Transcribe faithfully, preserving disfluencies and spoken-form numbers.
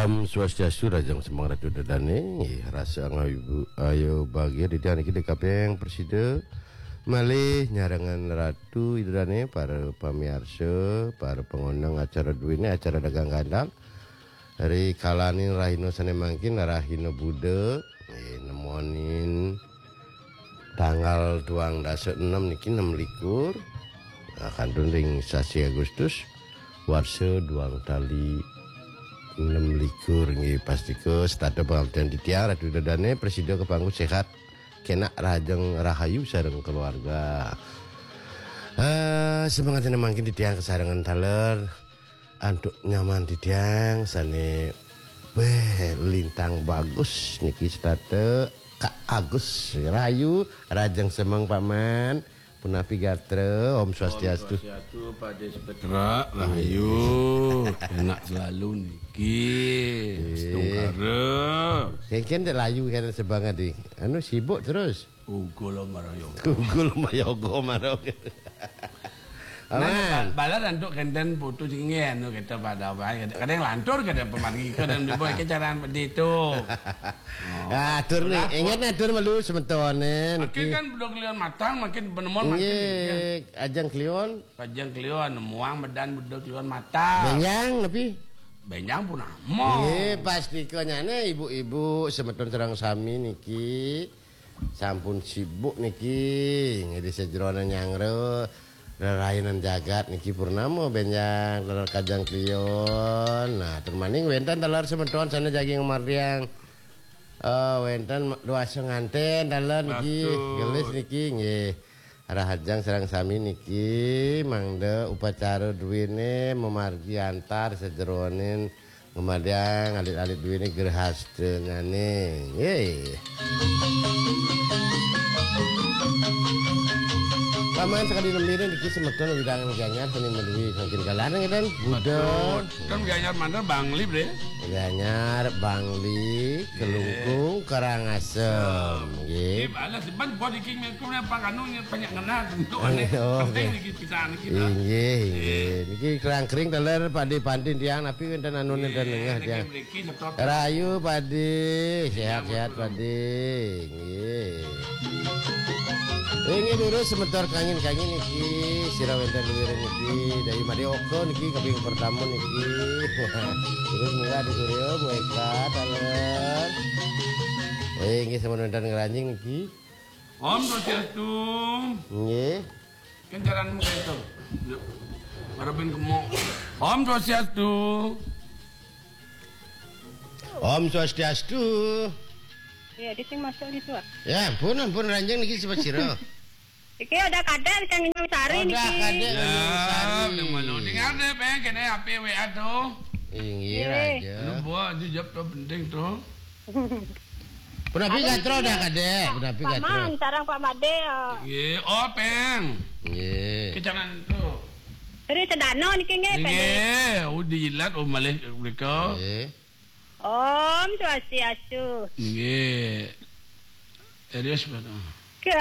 Om Swastiastu, rahajeng semeng Ratu Ida Dane, nggih, rasa ngayu-, ayo bagia titiang niki di kaping prasida. Malih nyarengan Ratu Ida Dane, para pamiarsa, para pangondang acara duene, acara dagang gandang. Ri kalaning rahina sane mangkin, rahina Buda, nggih, nemonin tanggal duang dasa enem niki, enam likur. Nah, kantun ring sasi Agustus, warsa duang tali enam likur, nggih, pastika setata pangabdian titiang, Ratu Ida Dane, prasida kapangku sehat, kenak rahajeng rahayu sareng keluarga. Eh, semangatnya mangkin titiang kasarengan taler antuk nyaman titiang sane, weh, lintang bagus niki setata Kak Agus. Rahayu, rahajeng semeng Paman. Punapi gatra, Om Swastiastu. Om Swastiastu, Pak Dé Sepetra, rahayu, enak selalu niki. Nggih. Setungkara. Kengken dek layu kena sebangat di. Anu sibuk terus. Ugul Marayoga. Ugul Mayogo Maroga. Nah, aman. Ba-, balar antuk kenten putus inggih anu kita pada apa, kadang lantur, kadang pemargi, kadang dibuat ke cara seperti itu. Oh. Ah, atur nih, ingat nih, atur malu semetone, akhir niki. Kan budak kelion matang, makin penemuan makin. Nggih, ajang kelion. Ajang kelion, muang medan budak kelion matang. Benjang, tapi? Benjang pun amo. Nggih, pasti kenyane ibu-ibu semeton sareng sami niki. Sampun sibuk niki, nggih, di sajeroning nyanggra rerainan jagat niki purnama benjang taler kajang klion. Nah, tur maning wenten taler semeton sane jagi ngamargiang, eh, wenten duasa nganten taler niki, gelis niki, nggih. Rahajeng sareng sami niki mangda upacara duene mamargi antar sajeroning Kemudian alit-alit duene grehastanyane. Nggih. Paman sakadi nembene niki semeton widangan Gianyar seni meduwi saking galan ngeten. Buda. Betul. Kan Gianyar mandar Bangli, Bre. Gianyar, Bangli, Kelungkung, Karangasem. Nggih. Nggih, alah, seban buat iki mengko apa kanu banyak ngena bentuk aneh. Oh, penting nggih. Niki pisan niki, Pak. Inggih, inggih. Niki kerangkring taler Pak Dé Pantin tiang, napi wenten anu nenten nengah tiang. Rahayu Pak Dé, sehat-sehat Pak Dé. Nggih. Inggih, durus semeton kangin-kangin niki, sira wenten luwir niki, Dayu Madé Oka niki kaping pertama niki. Durus munggah di Surya, Bu Eka, taler. Inggih, sampun wenten ngranjing niki. Om Swastiastu. Nggih. Kan jalan muka itu. Yuk. Marepin kemo. Om Swastiastu. Om Swastiastu. Ya, di sing masuk di suat. Ya, ampun, ampun, ranjang niki sifat sira. Iki ada kadek kang Inung Sari niki. Ada kadek. Ya, Inung Sari. Udah mana? Dengar deh, Peng, kene H P W A tuh. Inggih, nggih. Raja. Lu bawa aja jawab tuh penting tuh. Punapi gatra dah kadek, punapi gatra. Paman, sareng Pak Made, ya. Nggih, oh, Peng. Nggih. Kecangan tu. Ri sedano niki nggih, Pak. Nggih, oh, diilat, oh, malih mereka. Nggih. Om Swastiastu. Nggih. Serius, Pak. Ke